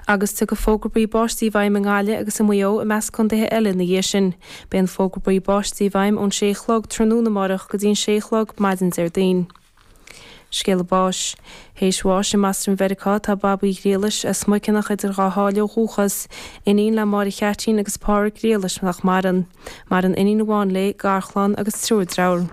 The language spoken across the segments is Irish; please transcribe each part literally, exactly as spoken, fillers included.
Agus tiocfaidh fógra buí báistí i bhfeidhm i nGaillimh agus i Maigh Eo i measc contaetha eile ina dhiaidh sin. Beidh an fógra buí báistí i bhfeidhm ón sé a chlog tráthnóna amárach go dtí an sé a chlog maidin Déardaoin. Scéala báis. Théis bháis i mBoston Mheiriceá tá Bab Uí Ghriallais as Muiceanach idir Dhá Sháile ó dhúchas, iníon le Máire Cheaitín agus Pádraig Griallais nach maireann. Maireann iníon amháin léi, garchlann agus triúr dearthár.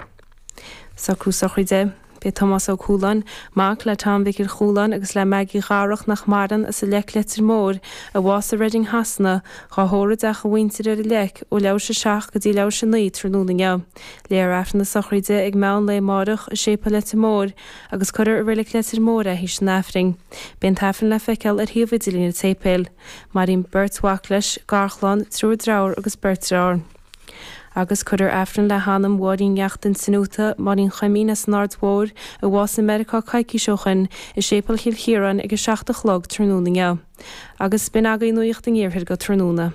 Socrú sochraide. B'é Tomás Ó Cualáin, mac le Tom Mhicil Chualáin agus le Maggie Dharach nach maireann as an Leic Leitir Móir, a bhásaigh i Reading Shasana, dhá thórramh i dteach a mhuintire ar an Leic ó leathuair tar éis a seacht go dtí leathuair tar éis a naoi tráthnóna inniu. Léifear Aifreann na sochraide ag meán lae amárach i Séipéal Leitir Móir agus cuirfear i Reilig Leitir Móir é théis an Aifrinn. Beidh an tAifreann le feiceáil ar shuíomh idirlín an tséipéil. Maireann beirt mhac leis, garchlann, triúr dearthár agus beirt deartháir. Agus cuirfear Aifreann le hanam Mháirín Neachtain Sinuata, Máirín Chuimín as an Aird Mhóir, a bhásaigh i Meiriceá coicís ó shin, i Séipéal Chill Chiaráin ag a seacht a chlog tráthnóna inniu. Agus b'in agaibh nuacht an iarthair go tráthnóna.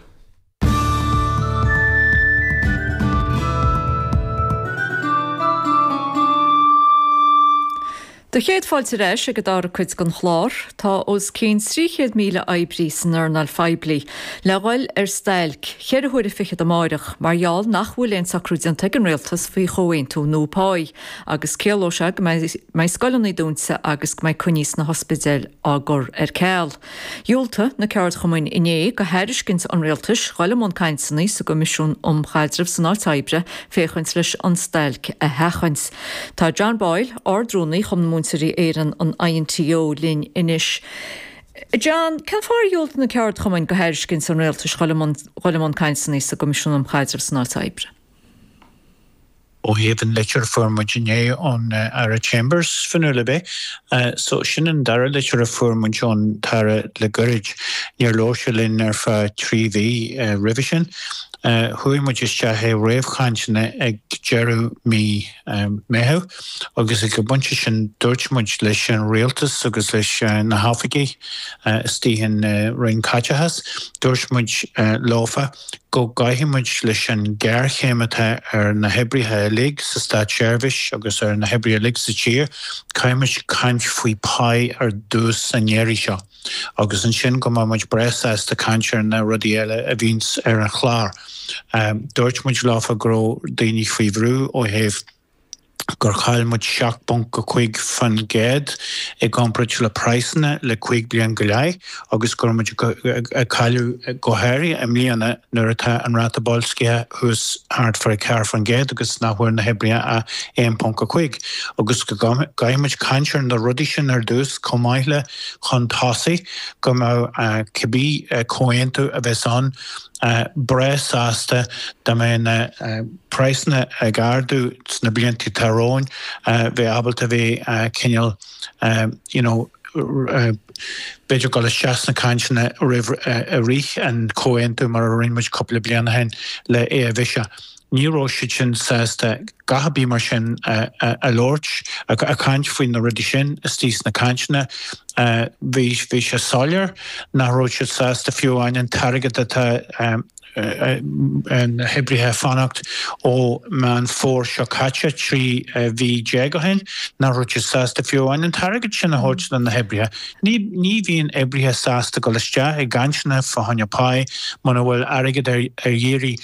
Do chéad fáilte ar ais ag an dara cuid den chlár. Tá os cionn trí chéad míle oibrí san earnáil phoiblí le dhul ar stailc cheithre huaire fichead amáireach mar gheall nach bhfuil aon socrú déanta ag an rialtas faoi chomhaontú nua páí agus ciallóidh sé go mbeidh scoileanna dúnta agus go mbeidh coinní sna hospidéil á gcur ar ceal. Dhiúltaigh na ceardchumainn inné do thairiscint an rialtais dhul i mbun cainteanna sa gCoimisiún um Chaidreamh san Áit Oibre féachaint leis an stailc a sheachaint. Tá John Boyle, Ard-Rúnaí Chumann Múinteoirí Éireann an INTO linn anois. John, cén fáth ar dhiúltaigh na ceardchumainn do thairiscint an rialtais dhul i mbun cainteanna sa gCoimisiún um Chaidreamh san Áit Oibre? Ó thaobh an litir a fuair muid inné ón Aire Chambers, Fionnuala ab é? So sin an dara litir a fuair muid ón tAire le goirid. Níor labhair sé linn ar feadh trí mhí roimhe sin. Chuaigh muid isteach i réamhchainteanna ag deireadh mí Meitheamh agus ag an bpointe sin dúirt muid leis an rialtas agus leis na hoifigigh istigh in Roinn Caiteachais, dúirt muid leofa go gcaithfidh muid leis an ghéarchéim atá ar na hoibrithe uilig sa státseirbhís agus ar na hoibrithe uilig sa tír, caithfidh muid caint faoi pá ar dtús an iarraidh seo. Agus ansin go mbeidh muid breá sásta caint ar na rudaí eile a bhíonns ar an chlár. Dúirt muid leofa go raibh daoine faoi bhrú ó thaobh gur chaill muid seacht bponc a cúig faoin gcéad i gcomparáid le praghsanna le cúig bliain go leith agus go raibh muid ag cailleadh go háirithe i mbliana nuair atá an ráta boilscithe thuas thart fá ceathair faoin gcéad agus nach bhfuair na hoibrithe ach aon ponc a cúig agus go gcaithfidh muid caint ar na rudaí sin ar dtús chomh maith le chun tosaigh go mbeadh cibé comhaontú a bheas ann breá sásta dá mbeadh na praghsanna ag ardú sna blianta atá romhainn bheith ábalta bheith cineál you know b'fhéidir dul isteach sna cainteanna roimh i rith an comhaontú mar a rinne muid cúpla bliain ó shin le Avisa. Ní raibh siad sin sásta a dhath ar bith mar sin a labhairt, a chaint faoi na rudaí sin istigh sna cainteanna. Bhí bhí sé soiléir nach raibh siad sásta fiú amháin an t-airgead atá na hoibrithe ag fanacht ó Meán Fómhair seo caite, trí mhí déag ó shin, nach raibh siad sásta fiú amháin an t-airgead sin a thabhairt do na hoibrithe. Ní ní bhíonn oibrithe sásta dul isteach i gcainteanna fá choinne pá muna bhfuil airgead ar iarraidh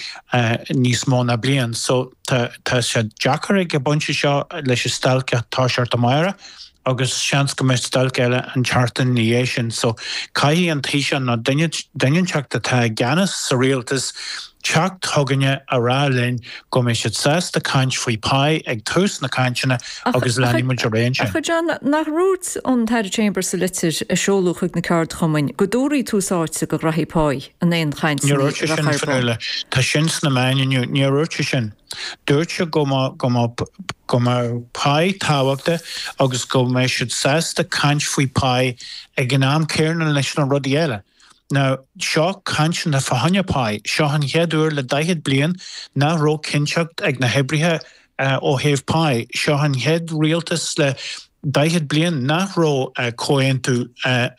níos mó ná bliain. So tá tá sé deacair ag an bpointe seo leis an stailc ag toiseacht amárach agus seans go mbeidh stailc eile an tseachtain ina dhiaidh sin. So caithfidh an Taoiseach nó duine duine inteacht atá i gceannas sa rialtas teacht chugainne a rá linn go mbeidh siad sásta caint faoi pá ag tús na cainteanna agus leanfaidh muid ar aghaidh ansin. Ach a John, nach ndúirt an tAire Chambers sa litir a seoladh chuig na ceardchumainn go dtabharfaí tús áite do ghraithí pá in aon chainteanna Níor dhúirt sé a sin, bheadh ar bun? Fionnuala. Tá sin sna meáin inniu. Níor dhúirt sé sin. Dúirt sé go mbeadh go mbeadh go mbeadh pá tábhachtach agus go mbeadh siad sásta caint faoi pá ag an am céanna leis na rudaí eile. Now, seo cainteanna fá choinne pá. Seo an chéad uair le daichead bliain nach raibh cinnteacht ag na hoibrithe ó thaobh pá. Seo an chéad rialtas le daichead bliain nach raibh comhaontú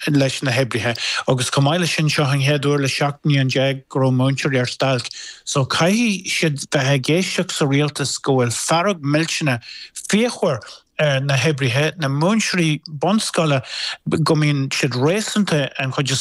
leis na hoibrithe agus chomh maith leis sin seo an chéad uair le seacht mbliain déag go raibh múinteoirí ar stailc. So caithfidh siad bheith ag éisteacht sa rialtas go bhfuil fearg millteanach fíochmhar ar na hoibrithe, na múinteoirí bunscoile, go mbíonn siad réasúnta an chuid is